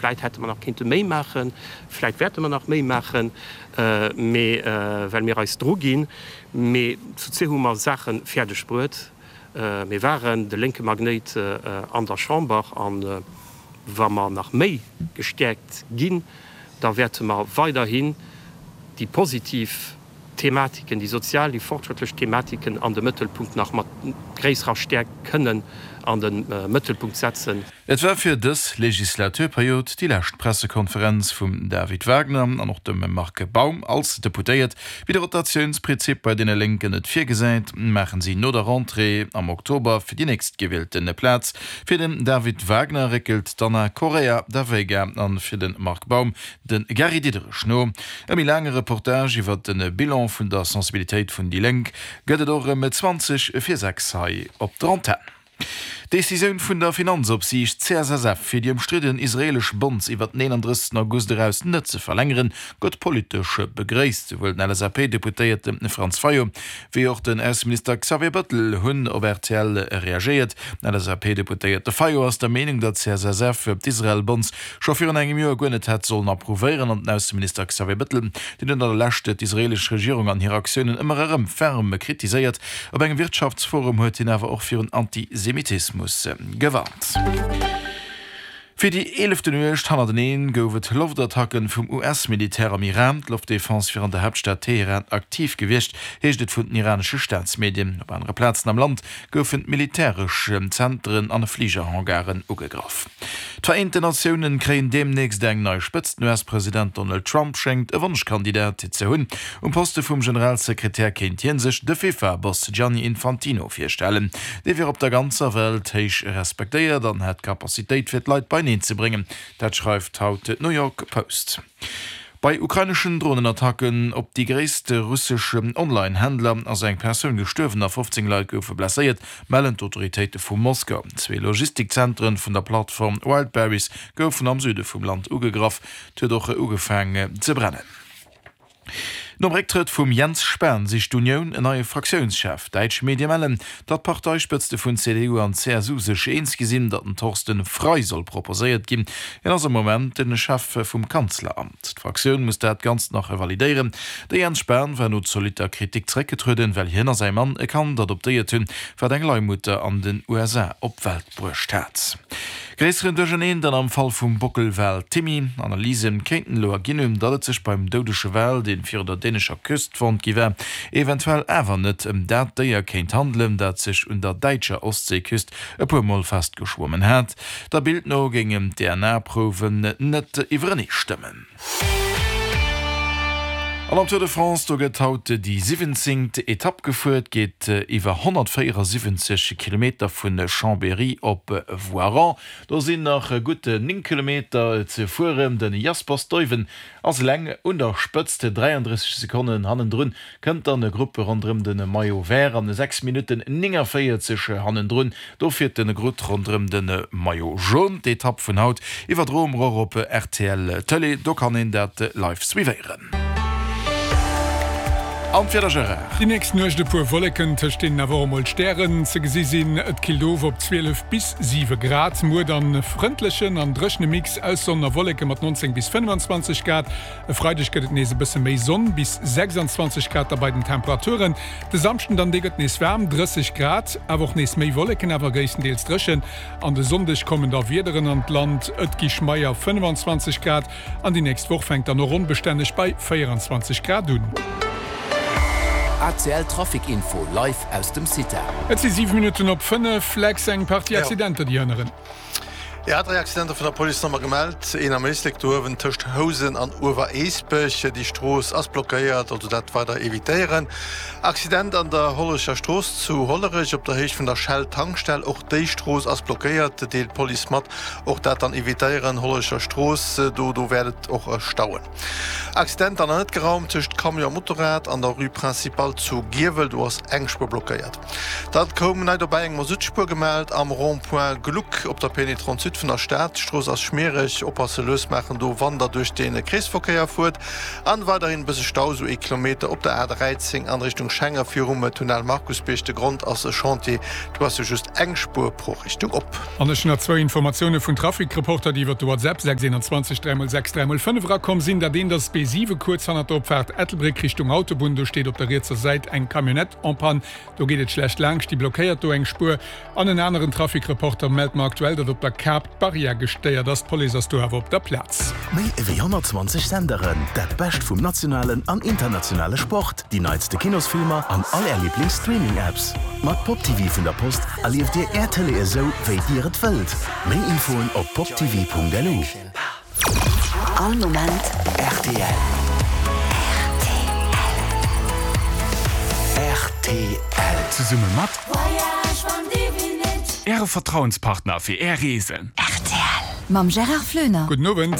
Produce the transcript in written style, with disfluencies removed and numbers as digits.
Vläit hätte mer nach kéinte méi maachen, vläit wäerte mer nach méi maachen, mee well mir eis druginn. Mee zu zwee hu mer Saache fäerdeg bruet. Mir waren de lénke Magnéit an der Chamber a wa mer nach méi gestäerkt ginn, da wäerte mer weiderhin déi positiv Thematiken, déi sozial, déi fortschrëttlech Thematiken an de Mëttelpunkt nach mat gréisserer Stäerkt kënnen an de Mëttelpunkt setzen. Et war fir dës Legislaturperiod déi lescht Pressekonferenz vum David Wagner an och dem Marc Baum als Deputéiert. Wéi de Rotatiounsprinzip bei deene Lénken et virgesäit, maachen si no der Rentrée am Oktober fir déi nächstgewielte Plaz. Fir den David Wagner réckelt d'Anna Correia da Veiga an fir de Marc Baum de Gary Diderich no. E méi laange Reportage iwwer de Bilan vun der Sensibilitéit vun déi Lénk gëtt et och ëm 20 vir 6 hei op der Antenn. D'Decisioun vun der Finanzopsiicht CSSF, fir déi ëmstridden israeelesch Bonds iwwer den 31 August eraus net ze verlängeren, gëtt politesch begréisst. Souwuel den LSAP-Deputéierte Franz Fayot wéi och den Ausseminister Xavier Bettel hunn op rtl reagéiert. Den LSAP-Deputéierte Fayot ass der Meenung, datt d'CSSF d'Israel-Bonds scho virun engem Joer guer net hätt sollen approuvéieren an den Ausseminister Xavier Bettel, deen huet an der Lescht d'israeelesch Regierung an hir Aktiounen ëmmer erëm ferm kritiséiert. Op engem Wirtschaftsforum huet hien awer och virun Antisemitismus gewarnt. Fir déi eelefte Nuecht hannerteneen gouf et Loftattacken vum US-Militär am Iran. D'Loftdefense wier an der Haaptstad Teheran aktiv gewiescht, heescht et vun den iranesche Staatsmedien. Op anere Plazen am Land goufen militäresch Zenteren an Fligerhangaren ugegraff. D'Vereenten Natiounen kréien deemnächst eng nei Spëtzt. Den US-President Donald Trump schéngt e Wonschkandidat ze hunn. Um Poste vum Generalsekretär kéint hie sech de FIFA-Boss Gianni Infantino virstellen. Dee wier op der ganzer Welt héich respektéiert an hätt d'Capacitéit fir d'Leit beineen ze bréngen. Dat schreift haut d'New York Post. Bei ukraineschen Dronenattacken op déi gréisste russesch Online-Händler ass eng Persoun gestuerwen a 15 Leit goufe blesséiert, mellen d'Autoritéite vu Moskau. Zwee Logistikzentren vun der Plattform Wildberries goufen am Süde vum Land ugegraff. Et huet och ugefaang ze brennen. Nom Récktrëtt vum Jens Spahn sicht d'Unioun en neie Fraktiounschef. Däitsch Medie mellen, datt d'Parteispëtzte vun CDU an CSU sech eens gi sinn, datt den Thorsten Frei soll proposéiert ginn. Hien ass am Moment de Chef vum Kanzleramt. D'Fraktioun muss dat Ganzt nach validéieren. De Jens Spahn war no zolitter Kritik zeréckgetrueden, well hien a säi Mann e Kand adoptéiert hunn, wat eng Leihmutter an den USA op d'Welt bruecht hat. Gréisseren Duercherneen dann am Fall vum Bockelwal Timmy. Analyse kéinten elo erginn hunn, datt et sech beim doudege Wal, dee virun der dänescher Küst fonnt gi war, eventuell awer net ëm dat Déier kéint handelen, dat sech un der däitscher Ostseeküst e puer Mol festgeschwommen hat. Der Bild no géingen d'DNA-Prouwen net iwwerenee stëmmen. An am Tour de France, do gëtt haut déi siwwenzéngt Etapp gefuer. Et geet iwwer 174 Kilometer vu Chambéry op Voiron. Do sinn nach gutt 9 Kilometer ze fueren. De Jasper Stuyven ass eleng un der Spëtzt, 33 Sekonnen hannendrun Kënnt dann e Grupp ronderëm de Maillot Vert an 6 Minutten 49 hannendrun. Do fiert de Grutt ronderëm de Maillot Jaune. D'Etapp vun haut iwwerdroe mer och op rtl Tëlee, do kann een dat live suivéieren. An d'Wieder Gérard? Déi nächst Nuecht e puer Wolleken, tëscht deenen awer och emol d'Stären ze gesi sinn. Et killt of op 12 bis 7 Grad. Muer dann e frëndlechen an dréchene Mix aus Sonn a Wolleke mat 19 bis 25 Grad. E Freideg gëtt et nees e bësse méi Sonn, bis 26 Grad da bei den Temperaturen. De Samschden dann, dee gëtt nees waarm, 30 Grad, awer och nees méi Wolleken, awer gréisstendeels dréchen. An de Sonndeg kommen da Wiederen an d'Land, et gi schmeier 25 Grad an déi nächst Woch fänkt dann och onbestänneg bei 24 Grad un. ACL Trafic Info live aus dem CITA. Et si 7 Minutten op 5, Lex, eng Partie Accidenter déi hënneren. Jo, 3 Accidenter vun der Police nochmol gemellt. Een am Éislek do uewen tëscht Housen an Ueweréisbech. Déi Strooss ass blockéiert, also dat weider evitéieren. Accident an der Hollerecher Strooss zu Hollerech op der Héicht vun der Shell Tankstell. Och déi Strooss ass blockéiert, deelt d'Police mat. Och dat dann evitéieren, Hollerecher Strooss, do do wäert et och stauen. Accident dann an net geraumt tëscht Camion a Motorrad an der Rue Principale zu Giewel. Do ass eng Spuer blockéiert. Dat koum nei dobäi, eng Masuttspuer gemellt am Rond-point Gluck op der PN 38. vun der Stad. D'Strooss ass schmiereg, oppasse lues maachen do wann der duerch de Kreesverkéier fuert. An weiderhin e bësse Stau, sou ee Kilometer op der A 13 an Richtung Schenger virum Tunnel Markusbierg. De Grond ass e Chantier, do ass jo just eng Spuer pro Richtung op. An ech hunn nach zwou Informatioune vun Trafic-Reporter, déi iwwer de WhatsApp 6 21 3 x 6 3 x 5 erakomm sinn. Dat eent ass d'B7 kuerz hannert der Opfaart Ettelbréck Richtung Autobunn. Do steet op der rietser Säit eng Camionnette en panne. Do geet et schlecht laangscht, déi blockéiert do eng Spuer. An en aneren Trafic-Reporter mellt mer aktuell, datt op der Kap d'Barrière gestéiert ass. D'Police ass do awer op der Plaz. Méi ewéi 120 Senderen, dat Bescht vum nationalen an internationale Sport, déi neitste Kinosfilmer an all Är Liiblings-Streaming-Apps. Mat Pop TV vun der Post erlieft Dir Är Tëlee esou, wéi Dir et wëllt. Méi Infoen op poptv.lu. All Moment rtl. Rtl. Zesumme mat Äre Vertrauenspartner fir Är Reesen. Rtl. Mam Gérard Floener. Gudden Owend.